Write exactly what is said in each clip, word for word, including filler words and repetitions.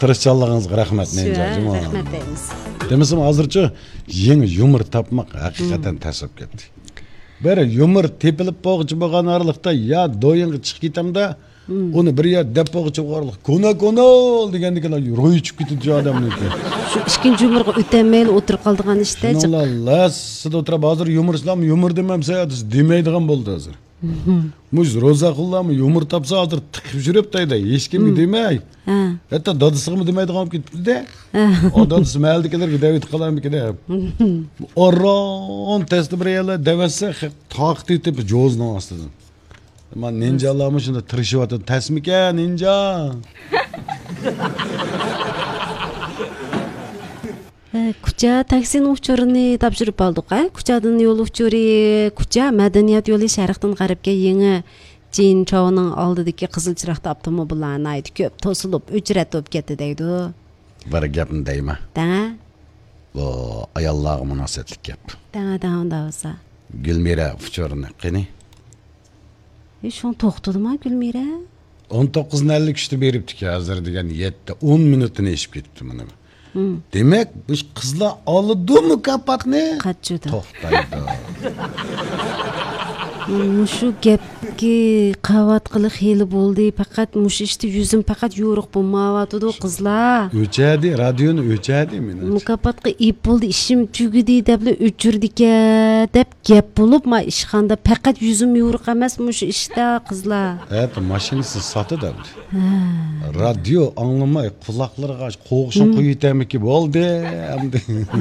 تىرىشچانلىقىڭىزغا رەھمەت، شۇ، نىنجا، ھە، جۇمۇ. رەھمەت دەيمىز. دېمىسىمۇ، ھازىرچۇ يېڭى يۇمۇر تاپماق ھەقىقەتەن تەس بولۇپ كەتتى. بىر يۇمۇر تېپىلىپ بولغۇچە بولغان ئارىلىقتا يا دويىڭغا چىقىپ كېتەمدە، ئۇنى بىر يەر دەپ بولغۇچە بولغان ئارىلىق، كونا، كونا دېگەندىكىن روھى چۈشۈپ كېتىدۇ ئادەمنىڭكى. شۇ ئىككىنچى يۇمۇرغا ئۆتەلمەيلا ئولتۇرۇپ قالىدىغان ئىشتا جىق. شۇنىڭلا لەسسىدە ئولتۇرۇپ، ھازىر يۇمۇرچىلارمۇ يۇمۇر دېمەمسە دېمەيدىغان بولدى ھازىر. مۇشۇ روزاخۇنلارمۇ يۇمۇر تاپسا، ھازىر تىقىپ يۈرۈپ دەيدۇ، ھېچكىمگە دېمەي. ھە. ھەتتا دادىسىغىمۇ دېمەيدىغان بولۇپ كېتىپتۇ-دە. ھە. ئۇ دادىسى مەھەللىدىكىلەرگە دەۋېتىپ قالارمىكىن-دە. ئاران تەستە بىر يەرلەر دەۋەتسە، خەق تاقىتى يېتىپ جوزىنىڭ ئاستىدىن. مانا نىنجالارمۇ شۇنداق تىرىشىۋاتىدۇ. تەسمىكەن، نىنجا؟ ھە، كۇچا تاكسىنىڭ ئۇچۇرىنى تاپشۇرۇپ ئالدۇق، ھە؟ كۇچادىن يول ئۇچۇرى، كۇچا مەدەنىيەت يولى شەرقتىن غەربكە يېڭى جىنچاۋنىڭ ئالدىدىكى قىزىل چىراغدا ئاپتوموبىللار ناھايىتى كۆپ توسۇلۇپ، ئۆچرەت بولۇپ كەتتى دەيدۇ. بىر گەپنى دەيمەن. دەڭە. بۇ ئاياللارغا مۇناسىۋەتلىك گەپ. دەڭە، دەڭە، ئۇنداق بولسا. گۈلمىرە ئۇچۇرىنى قېنى؟ ئى، شۇڭا توختىدىما گۈلمىرە؟ ئون توققۇزنى ئەللىك ئۈچتە بېرىپتىكەن، ھازىر دېگەن يەتتە، ئون مىنۇتتىن ئېشىپ كېتىپتۇ مانا. ھىم. دېمەك، بۇ قىزلار ئالىدۇ مۇكاپاتنى. قاچىدۇ. توختايدۇ. مۇشۇ گەپكە قاۋاتقىلى خېلى بولدى. پەقەت مۇشۇ ئىشتا يۈزۈم پەقەت يورۇق بولمايۋاتىدۇ، قىزلار. ئۆچەدى، رادىيونى ئۆچەدى مېنىڭچە. مۇكاپاتقا ئېپ بولدى، ئىشىم تۈگىدى دەپلا ئۆچۈردىكەن دەپ گەپ بولۇپ، ما ئىشخانىدا پەقەت يۈزۈم يورۇق ئەمەس، مۇشۇ ئىشتا قىزلار. ھەتتا ماشىنىسىنى ساتىدۇ ئەمدى. ھە. رادىيو ئاڭلىماي، قۇلاقلىرىغا قوغۇشۇن قويۇۋېتەرمىكى بولدى ئەمدى. ھە، ھە.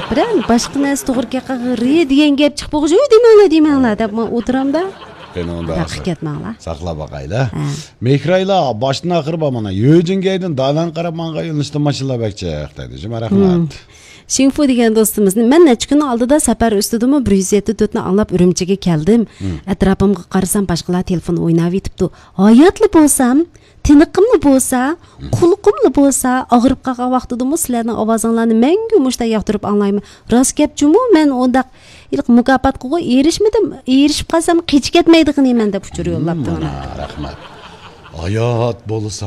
بىرەر باشقا نەرسە توغرا كەپ قالغىرى دېگەن گەپ چىقىپ بولغۇچە، «ھۆي، دېمەڭلار، دېمەڭلار» دەپ مەن ئولتۇرامدا. قېنى ئۇندا قىلىپ كەتمەڭلار. ساقلاپ باقايلى. ھە. مېھرايلا، باشتىن ئاخىر بار مانا. يۆجىنگەيدىن دالان قاراپ ماڭغان يۆنىلىشتە ماشىنىلار بەك جىق دەيدۇ. جۇمۇ رەھمەت. شىڭفۇ دېگەن دوستىمىزنى، مەن نەچچە كۈن ئالدىدا سەپەر ئۈستىدىمۇ بىر يۈز يەتتە تۆتنى ئاڭلاپ ئۈرۈمچىگە كەلدىم. ئەتراپىمغا قارىسام، باشقىلار تېلېفون ئويناۋېتىپتۇ. ھاياتلا بولسام، تىنىقىملا بولسا، قۇلىقىملا بولسا، ئاغرىپ قالغان ۋاقتىدىمۇ سىلەرنىڭ ئاۋازىڭلارنى مەڭگۈ مۇشۇنداق ياقتۇرۇپ ئاڭلايمەن. راست گەپ جۇمۇ، مەن ئۇنداق ھېلىقى مۇكاپاتقىغۇ ئېرىشمىدىم. ئېرىشىپ قالسام، قېچىپ كەتمەيدىغىنى مەن دەپ ئۇچۇر يوللاپتۇ مانا. رەھمەت. ھايات بولسا